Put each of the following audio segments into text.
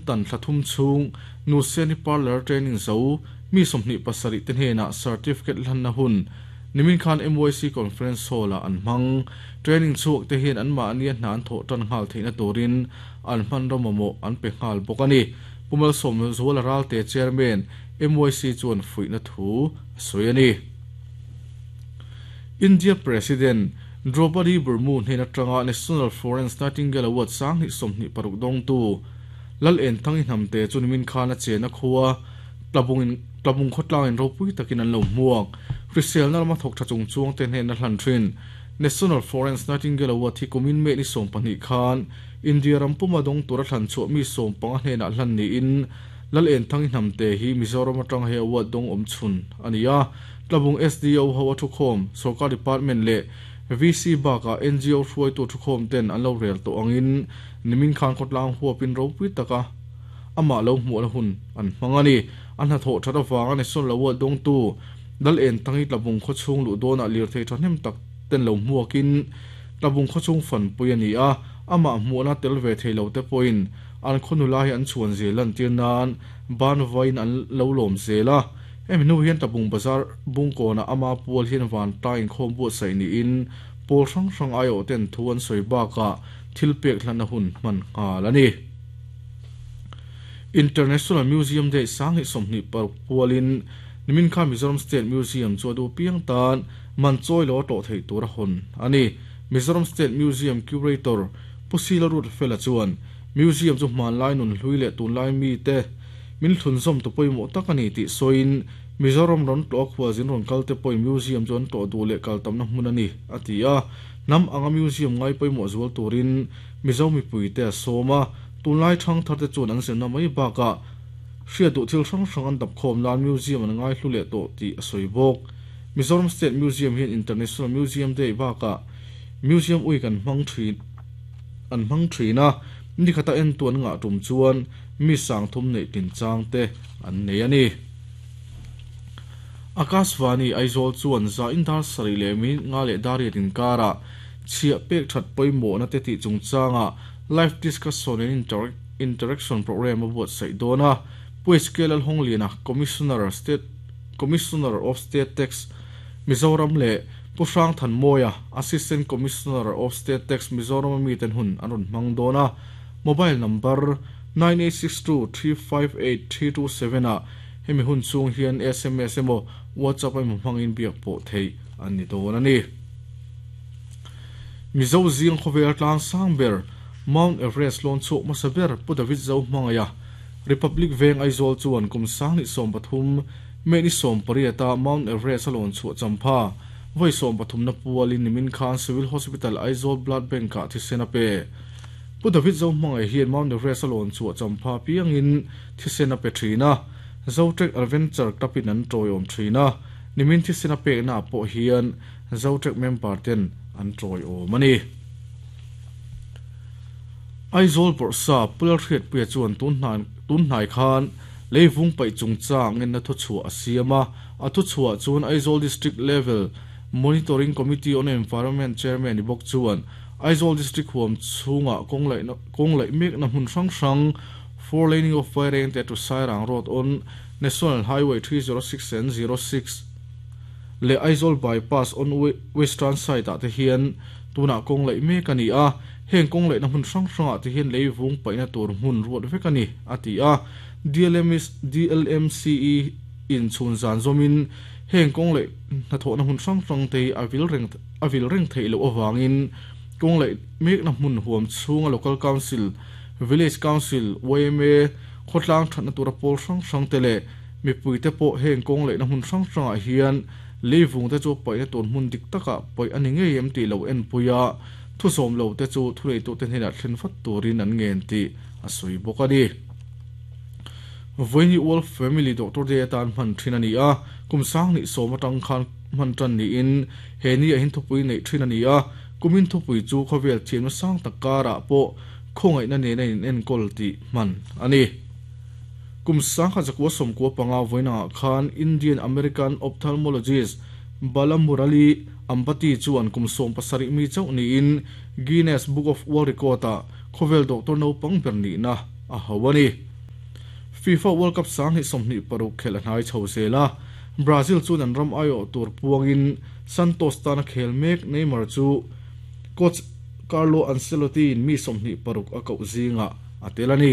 Accountant thla thum chhung Nuseni Parlour Training zo mi 27 te hnenah Certificate hlanna hun nimin khan MYC Conference Hall ah an hmang. Training chhuak te hian anmahnia hna an thawh tan nghal theihna turin an hmanraw mamawh an pe nghal bawk a ni. Pu Malsawmzuala Ralte Chairman MYC chuan fuihna thu a sawi a ni. India President Droupadi Murmu hnen atanga National Florence Nightingale Award 2026 dawngtu Lal Enthangi Hnamte chu nimin khan a chena khua Tlabungin Tlabung khawtlangin ropui takin an lo hmuak. Hriselna lama thawk tha chung chuangte hnena hlan thin National Florence Nightingale Award hi kumin May ni 12 khan India ram puma dawng tura thlan chhuah mi 15 hnenah hlan niin Lal Enthangi Hnamte hi Mizoram atanga he award dawng awm chhun a ni a. Tlabung SDO ho a thukhawm, Sorkar Department leh VC bakah NGO hruaitu thukhawm ten an lo rel tawh angin nimin khan khawtlang huapin ropui taka amah lo hmuhna hun an hmang a ni. A hnathawh that avanga National Award dawngtu Lal Enthangi Tlabung khawchhung luh dawnah lirthei thahnem tak ten lo hmuakin Tlabung khawchhung fanpui a ni a, amah hmuhna tel ve thei lo te pawhin an khaw nula hi an chhuan zel lantir nan ban vain an lo lawm zel a. Hemi hnu hian Tlabung Bazar Bungkawnah ama pual hian vantla inkhawm buatsaih niin pawl hrang hrang aiawh ten thu an sawi bakah thil pek hlanna hun hman nghal a ni. International Museum Day 2026 pualin nimin khan Mizoram State Museum chu a duh piang tan man chawi lo a tlawh theih tur a hawn a ni. Mizoram State Museum Curator Pu Sila Ruatfela chuan Museum chu hmanlai nunhlui leh tunlai mite min thlunzawm tu pawimawh tak a ni tih sawiin Mizoram rawn tlawh a khualzin rawn kal te pawhin Museum chu an tlawh duh leh kal tamna hmun a ni, a ti a. Hnam anga Museum ngai pawimawh zual turin Mizo mipuite a sawm a, tunlai thangthar te chuan an zirna mai bakah hriat duh thil hrang hrang an dap khawm nan Museum an ngai hlu leh tawh tih a sawi bawk. Mizoram State Museum hian International Museum Day bakah Museum Week an hmang thin an hmang thin a, nikhata entu an ngah tum chuan mi 3000 neih tin chang te an nei a ni. Akashvani Aizawl chuan za in dar sarih leh minute nga leh dar riat inkarah chhiah pek that pawimawhna te tih chungchangah live discussion and interaction programme a buatsaih dawn a. Pu HK Lalhawngliana, Commissioner, State Commissioner of State Tax, Mizoram leh Pu Hrangthanmawia, Assistant Commissioner of State Tax, Mizoram a miten hun an rawn hmang dawn a. Mobile number 9862358327 ah hemi hun chhung hian sms emaw WhatsApp emaw hmangin biak pawh theih an ni dawn a ni. Mizo zing khawvel tlang sang ber Mount Everest lawn chhuak hmasa ber Pu David Zohmangaiha Republic Veng Aizawl chuan kum 2023 May ni 18 a Mount Everest a lawn chhuah champha vawi 13 na pualin nimin khan Civil Hospital Aizawl Blood Bank ah thisen a pe. Pu David Zohmangaih hian Mount Everest a lawn chhuah champha piangin thisen a pe thin a, Zotrek Adventure Club in an tawiawm thin a, nimin thisen a pekna ah pawh hian Zotrek member ten an tawiawm a ni. Aizawl Bawrhsa Pu Lalhriatpuia chuan tunhnai khan leivung paih chungchang ngenna thuchhuah a siam a, a thuchhuah chuan Aizawl District Level Monitoring Committee on Environment Chairman ni bawk chuan Aizawl District huam chhungah kawng laihna kawng laih mekna hmun hrang hrang Four Laning of Vairengte to Sairang Road on National Highway 306 and 06 leh Aizawl Bypass on Western side ah te hian tunah kawng laih mek a ni a, heng kawng laihna hmun hrang hrangah te hian lei vung paihna tur hmun ruat vek a ni, a ti a. DLMCE in chhun zan zawmin heng kawng laih hnathawhna hmun hrang hrang te hi a vil reng a vil reng theih loh avangin kawng laih mekna hmun huam chhunga Local Council, Village Council, yma, khawtlang thatna tura pawl hrang hrang te leh mipui te pawh heng kawng laihna hmun hrang hrangah hian leivung te chu paihna tur hmun dik takah paih a ni ngei em tih lo enpui a, thusawm lo te chu thuneitute hnenah thlen vat turin an ngen tih a sawi bawk a ni. Vawiini World Family Doctor Day atan hman thin a ni a, kum 2010 atang khan hman tan niin he ni ah hian thupui neih thin a ni a, kumin thupui chu khawvel thiamna sang tak karah pawh khawngaihna nena in enkawl tih hman a ni. Kum 1995 vawiinangah khan Indian American ophthalmologist Balamurali Ambati chuan kum 17 mi chauh niin Guinness Book of World Record ah khawvel doctor naupang ber nihna a ho a ni. FIFA World Cup 2026 khelh a hnai chho zel a, Brazil chuan an ram aiawh tur puangin Santos tana khel mek Neymar chu coach Carlo Ancelotti-in mi 26 a koh zingah a tel a ni.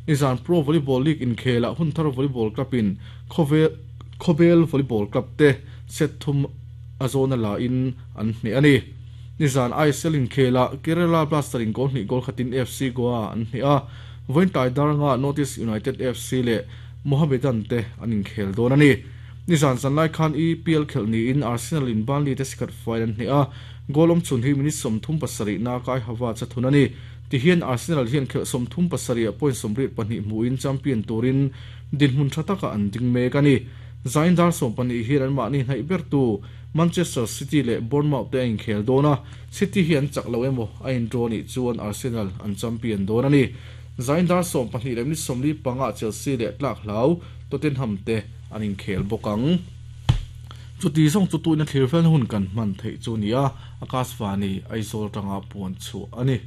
Nizan Pro Volleyball League inkhelah Hunthar Volleyball Club-in Khawbel Volleyball Club te set thum a zawna la in an hneh a ni. Nizan ISL inkhelah Kerala Blaster in goal hnih goal khatin FC Goa an hneh a, vawiin tlai daranga North East United FC leh Mohammedan te an inkhel dawn a ni. Nizan zanlai khan EPL khelh niin Arsenal in Burnley te sikhat faiin an hneh a, goal awmchhun hi minute 37 na Kai Havertz a thun a ni. Tihian Arsenal hian khelh 37 ah point 32 hmuhin champion turin dinhmun tha takah an ding mek a ni. Zain dar 12 hian anmahni hnaih bertu Manchester City leh Bournemouth te a inkhel dawn a, City hi an chak lo emaw a indraw nih chuan Arsenal an champion dawn a ni. Zain dar 12 leh minute 45 ah Chelsea leh tlak hlau Tottenham te an inkhel bawk ang. Chuti zawng chu tuina thlir felna hun kan hman theih chu a ni a, Akashvani Aizawl atanga puan chhuah a ni.